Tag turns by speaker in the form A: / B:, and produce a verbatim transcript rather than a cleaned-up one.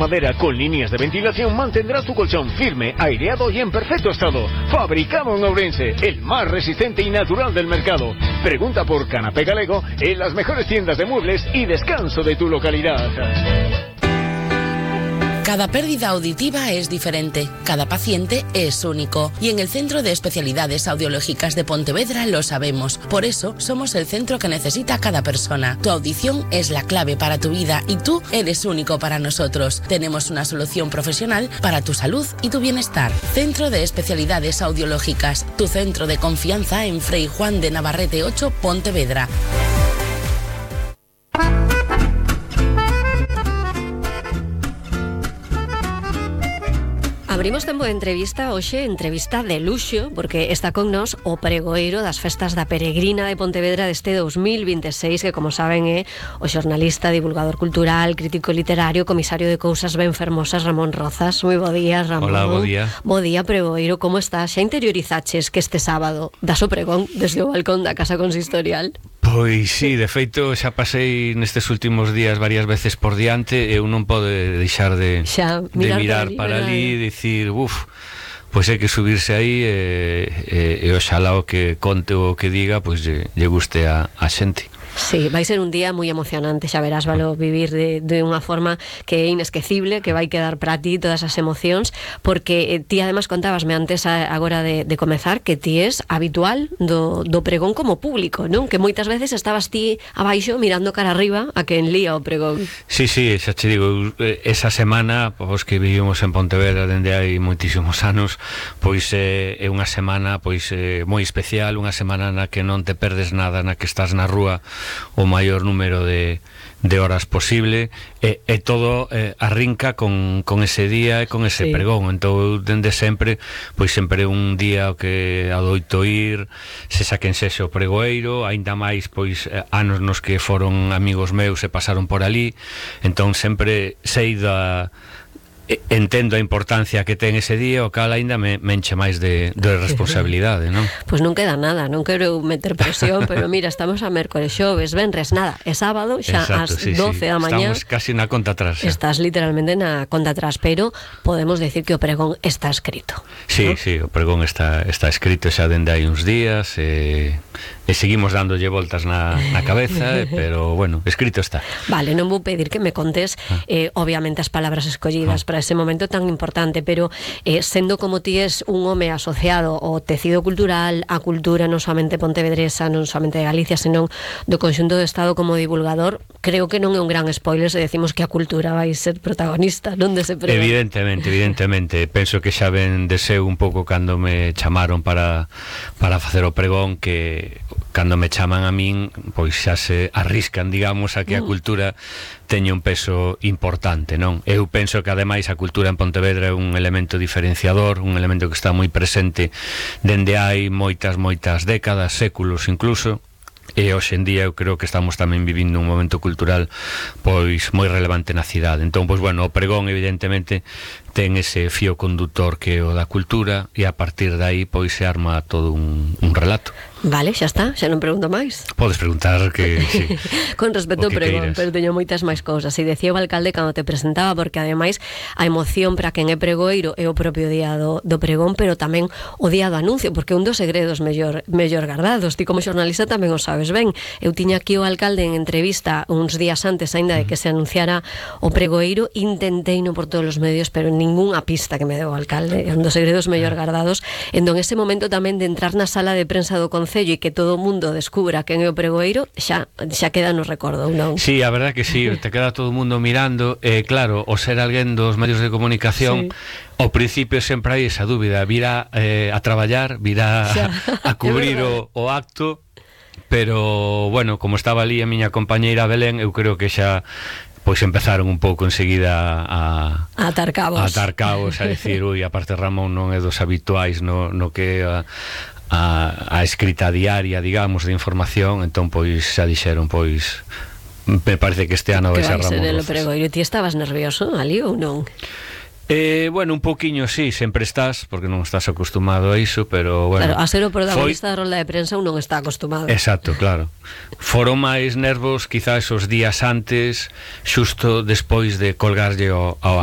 A: Madera con líneas de ventilación mantendrá tu colchón firme, aireado y en perfecto estado. Fabricado en Ourense, el más resistente y natural del mercado. Pregunta por Canapé Galego en las mejores tiendas de muebles y descanso de tu localidad.
B: Cada pérdida auditiva es diferente, cada paciente es único y en el Centro de Especialidades Audiológicas de Pontevedra lo sabemos. Por eso somos el centro que necesita cada persona. Tu audición es la clave para tu vida y tú eres único para nosotros. Tenemos una solución profesional para tu salud y tu bienestar. Centro de Especialidades Audiológicas, tu centro de confianza en Frei Juan de Navarrete ocho, Pontevedra.
C: Abrimos tempo de entrevista, hoxe entrevista de luxo, porque está con nos o pregoeiro das festas da Peregrina de Pontevedra deste dos mil vinte e seis, que como saben é o xornalista, divulgador cultural, crítico literario, comisario de cousas ben fermosas, Ramón Rozas. Moi bo día, Ramón.
D: Hola, bo día.
C: Bo día, pregoeiro, como estás? Xa interiorizaches que este sábado das o pregón desde o balcón da Casa Consistorial?
D: Pois sí, de feito xa pasei nestes últimos días varias veces por diante e eu non pode deixar de,
C: xa,
D: de mirar para ali e dicir, uf, pois hai que subirse aí e, e, e oxalá o que conte ou o que diga pois lle, lle guste a, a xente.
C: Sí, vai ser un día moi emocionante, xa verás, valo vivir de, de unha forma que é inesquecible, que vai quedar para ti todas as emocións, porque eh, ti además contábasme antes a, agora de, de comezar que ti es habitual do, do pregón como público, non? Que moitas veces estabas ti abaixo mirando cara arriba a quen lía o pregón.
D: Sí, sí, xa che digo, esa semana, pois que vivimos en Pontevedra dende hai moitísimos anos, pois é, é unha semana pois é, moi especial, unha semana na que non te perdes nada, na que estás na rúa o maior número de, de horas posible e, e todo eh, arrinca con, con ese día e con ese sí. pregón. Entón, dende sempre, pois sempre un día o que adoito ir, se saquen sexo o pregoeiro, aínda máis pois anos nos que foron amigos meus e pasaron por ali, entón sempre sei da entendo a importancia que ten ese día, o cal aínda me, me enche máis de, de responsabilidade, non?
C: Pois non queda nada, non quero meter presión, pero mira, estamos a mércores, xoves, venres, nada, é sábado, xa ás
D: sí,
C: doce
D: sí.
C: da mañá.
D: Estamos casi na conta atrás. Xa.
C: Estás literalmente na conta atrás, pero podemos decir que o pregón está escrito.
D: Sí,
C: ¿no?
D: sí, o pregón está, está escrito xa dende hai uns días e, e seguimos dándolle voltas na, na cabeza, pero bueno, escrito está.
C: Vale, non vou pedir que me contes eh, obviamente as palabras escollidas ah. para ese momento tan importante, pero eh, sendo como ti es un home asociado ao tecido cultural, a cultura non somente pontevedresa, non somente de Galicia, senón do conxunto do Estado como divulgador, creo que non é un gran spoiler se decimos que a cultura vai ser protagonista, non dese pregón.
D: Evidentemente, evidentemente, penso que xa ven de seu un pouco cando me chamaron para, para facer o pregón, que cando me chaman a min, pois xa se arriscan, digamos, a que a cultura teña un peso importante, non? Eu penso que ademais a cultura en Pontevedra é un elemento diferenciador, un elemento que está moi presente dende hai moitas, moitas décadas, séculos incluso, e hoxe en día eu creo que estamos tamén vivindo un momento cultural pois moi relevante na cidade. Entón, pois bueno, o pregón evidentemente ten ese fío conductor que é o da cultura e a partir de aí pois se arma todo un, un relato.
C: Vale, xa está, xa non pregunto máis.
D: Podes preguntar que sí,
C: con respecto ao pregón, pero teño moitas máis cousas. E decía o alcalde cando te presentaba, porque ademais a emoción para quen é pregoeiro é o propio día do, do pregón, pero tamén o día do anuncio, porque un dos segredos mellor, mellor guardados. Ti como xornalista tamén o sabes ben. Eu tiña aquí o alcalde en entrevista uns días antes aínda de que se anunciara o pregoeiro, intentei no por todos os medios, pero ningunha pista que me deu o alcalde. É un dos segredos mellor guardados. Entón, ese momento tamén de entrar na sala de prensa do Concello e que todo o mundo descubra quen é o pregoeiro, xa xa queda no recordo, non?
D: Sí, a verdad que sí, te queda todo o mundo mirando, e eh, claro, o ser alguén dos medios de comunicación, sí. Ao principio sempre hai esa dúbida, virá eh, a traballar, virá a, a cubrir o, o acto, pero bueno, como estaba ali a miña compañeira Belén, eu creo que xa pois empezaron un pouco enseguida a
C: a atar cabos,
D: a atar cabos, a decir, ui, aparte Ramón non é dos habituais no, no que a, a, a escrita diaria, digamos, de información, entón pois xa dixeron, pois me parece que este ano vai ser Ramón Rozas.
C: Pregoeiro, ti estabas nervioso ali ou non?
D: Eh, bueno, un poquinho sí, sempre estás, porque non estás acostumado a iso, pero bueno.
C: Claro, a ser o protagonista foi... da rolda de prensa un non está acostumado.
D: Exacto, claro. Foron máis nervos quizás os días antes, xusto despois de colgarlle ao, ao,